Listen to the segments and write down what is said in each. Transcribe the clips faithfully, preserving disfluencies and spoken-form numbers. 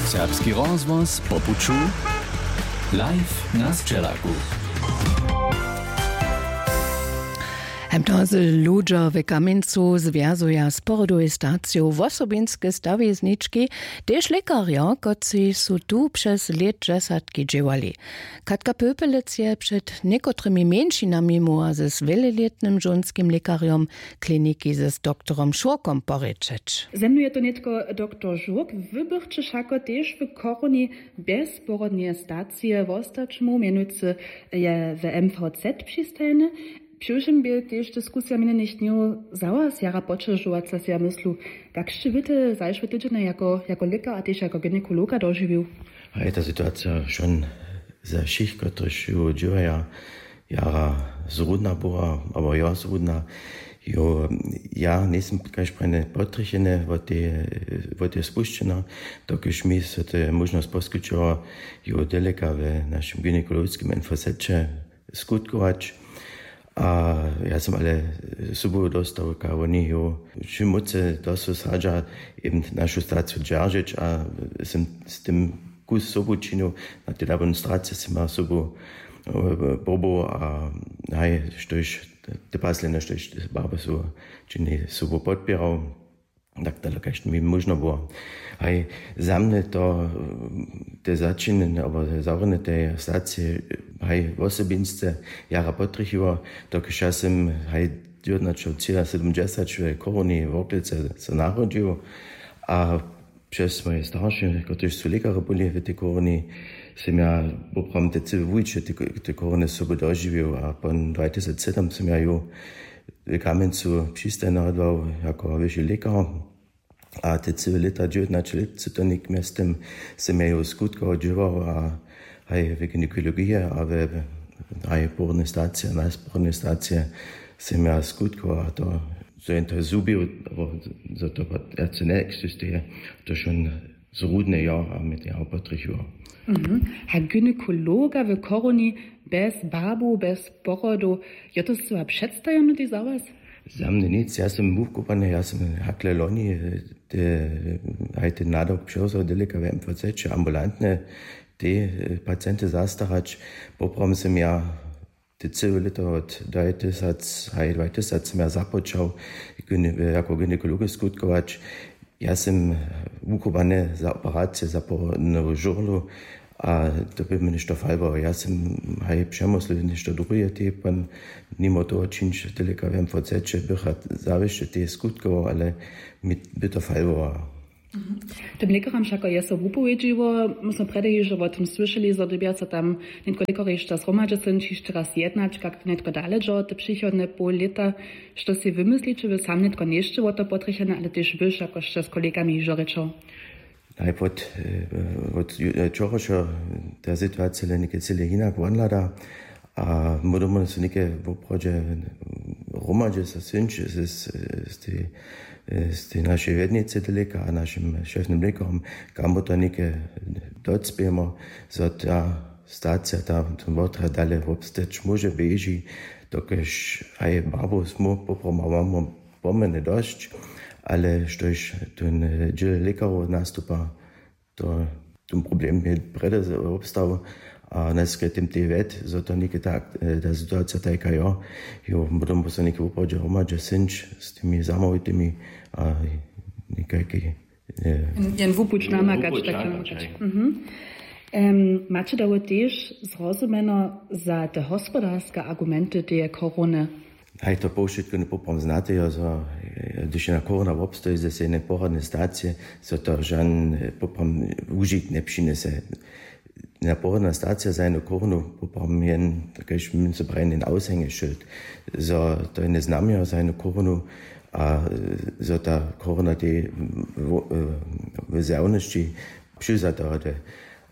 Serbski rozhłos po puću, live na sćelaku. Hemto z ludźo w Kamjencu zwjazuja z porodowej staciju wosobinske stawiznički, tež lěkarjo, kotři su tu přez lět dźesatki dźěłali. Katka Pöpelec je před někotrymi mjeńšinami móhła z wjelelětnym žonskim lěkarjom kliniki z doktorom Šurkom porěčeć. Ze mnu je to nětko doktor Žurk. Wy bychće wšako tež w Chorowni bjez porodneje stacije wostać móhł, mjenujcy je w M V Z přistajeny. Přiwšěm bě tež diskusija minjenych dnjow za was jara poćežowaca, sej ja myslu. Kak sće wy te zašłe tydźenje jako, jako lěkar a tež jako gynekologa dožiwił? A je ta situacija wšon za wšěch, kotryž ju dźěłaja, jara zrudna była, abo jo zrudna. Jo, ja njejsym kaž prjene potrjecheny wot tej, wot tej spušćenja, dokelž mi so to je móžnosć poskyćowa, jo, deleka w našim gynekologiskim infoseće skutkować. A ja sym ale sobu dostał, kaž woni jo, čim mócy to so sadźa, eben našu staciju dźeržeć a sym z tym kus sobu činił, na tej demonstracije sym ja sobu, e, bobu a haj, štož te paslene, štož barby su čini, sobu podpěrał. Tak dale, kaž mi móžno było. Haj, za mnje to, e, te začinjene, abo te zawrjene te stacije, haj, wosobinsce jara potrjechiło, dokelž ja sym, haj, dźewjatnaće třiasydomdźesat w Chorowni Worklicy so narodźił a přez moje starše, kotryž su lěkarjo byli w tej Chorowni, sym ja poprawom te cyłe wuwiće te, te Chorowny sobu dožiwił a pon dwatysacsedom sym ja ju w Kamjencu přistajnjował jako wyši lěkar. A te cyłe lěta, dźewjatnaće lět, su to něk mjez tym sym ja ju skutkowo dźěłał a haj w gynekologiji a we, haj porodnej stacije, nasporodnej stacije sym ja skutkował a to, zo jen to zhubił, abo zo to wot-, wjace njeexistuje, to šón zrudne jo a mi to ja potrjechiło. Mhm. A gynekologa w Chorowni bjez barbow, bjez porodow, jo to scyła předstajomnote za was? Za mnje nic, ja sym wukubłany, ja sym hakle loni, e, te, haj, ten nadawk přewzał deleka w M V Z, ambulantne te, e, pacienty zastarać. Poprawom sym ja te cyłe lěto wot dwatysacdwatysacedym ja započał, gyne-, jako gynekolog skutkować. Ja sym wukubłany za operacije, za porodnu žurlu a to by mi něšto falbowało. Ja sym haj přemyslił něšto druhe, te pon nimo toho čińć deleka w M V Z bycha zawěsće te skutkował, ale mi by to falbowało. Tym lěkaram wšako je so wupowědźiło. My smy prjedy hižo wo tym słyšeli, zo dyrbja so tam nětko lěkarješća zhromadźe synć hišće raz jednać, kak to nětko dale dźo te přichodne poł lěta. Što sej wymysliće wy sam nětko, něšće wo to potrjechene, ale tež wy wšako sće z kolegami hižo rěčał? Najpod, e, wot ju-, e, wčorašo ta situacija le něke cyle hinak wonhlada. A my domowno so něke woprawdźe hromadźe so synć z, z, z tej, z tej našej wjednicy deleka a našim šefnym lěkarom, kamo to něke docpějemo, zo ta stacija, ta, ten wotrjad dale wobstać móže, běži, dokelž haj barbow smy poprawom mamy pomjene dosć, ale štož ten, e, dźěl lěkarow nastupa, to ten problem je prjedy z-, wobstał a najskrytym tej wjet, zo to něke tak, e, ta situacija tajka jo, jo, potom so něke woprawdźe hromadźe synć z tymi zamołwitimi a někajki, e, jen, jen wupuć namakać, wupuć tak namakać, namakać. Mhm. Em, maće dało tež zrozumjeno za te hospodarske argumenty teje korony? Haj, to powšitko poprawom znate, jo, zo, e, hdyž jedna korona wobstoji ze jednej porodnej stacije, zo to žan, e, poprawom wužitk njepřinjese. Jedna porodna stacija za jednu koronu poprawom jen, kaž my so prajimy, jen awshängeschild. Zo to je jedne znamjo za jednu koronu a, e, zo ta korona tej w, w, e, w zjawnosći přewzatorjady.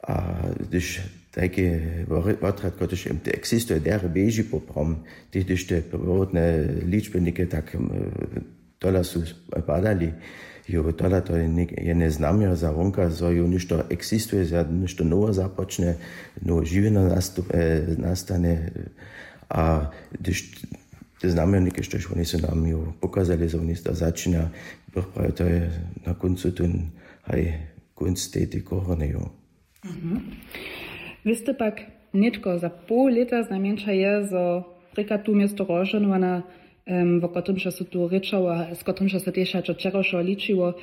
A hdyž tajki wor-, wotrjad, kotryž existuje, derje běži poprawom, tež hdyž te porodne ličby něke tak, e, tola su padali, jo, tola to je něk-, jedne znamjo za wonka, zo jo něšto existuje, zo něšto nowe započne, nowe žiwjenje nastup-, e, nastanje. A hdyž te znamjo něke, štož woni su nam jo pokazali, zo woni to začinja, bych prawił, to je na kóncu ten, haj, Kónc tej tej korony jo. Wěste pak, nětko za poł lěta znajmjeńša je zo rěka tu město rozžohnowana, wo kotrymž so tu rěčało a z kotrymž so tež hačo wčerawšeho ličiło,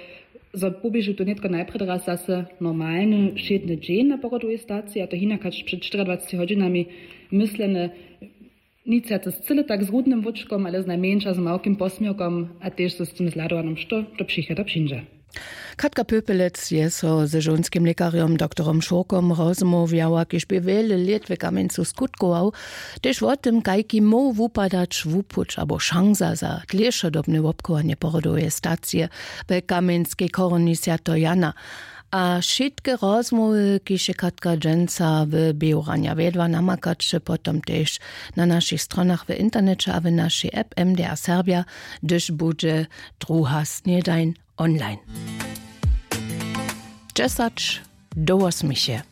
zo poběžu tu nětko najprjedy raz zase normalny wšědny dźeń na porodowej staciji a to hinak hač před dwaceti hodźinami, myslene nic wjace z cyle tak z rudnym wóčkom ale znajmjeńša z małkim posměrkom a tež z tym zhladowanym što do přichoda přińdźe. Katka Pöpelec je so ze žonskim lěkarjom doktorom Šurkom rozmołwjała, kiž bě wjele lět w kamjencu skutkował, tež wo tym kajki móhł wupadać wupuć abo šansa za dlěšodobne wobchowanje porodoweje stacije w kamjenskej chorowni swjateho jana. A wšitke rozmołwy kiž je katka dźensa w běłranja wjedła namakaće potom tež na našich stronach w interneće a w našej app mdr serbja, hdyž budźe druha snědań online. Dźesać do wosmich je.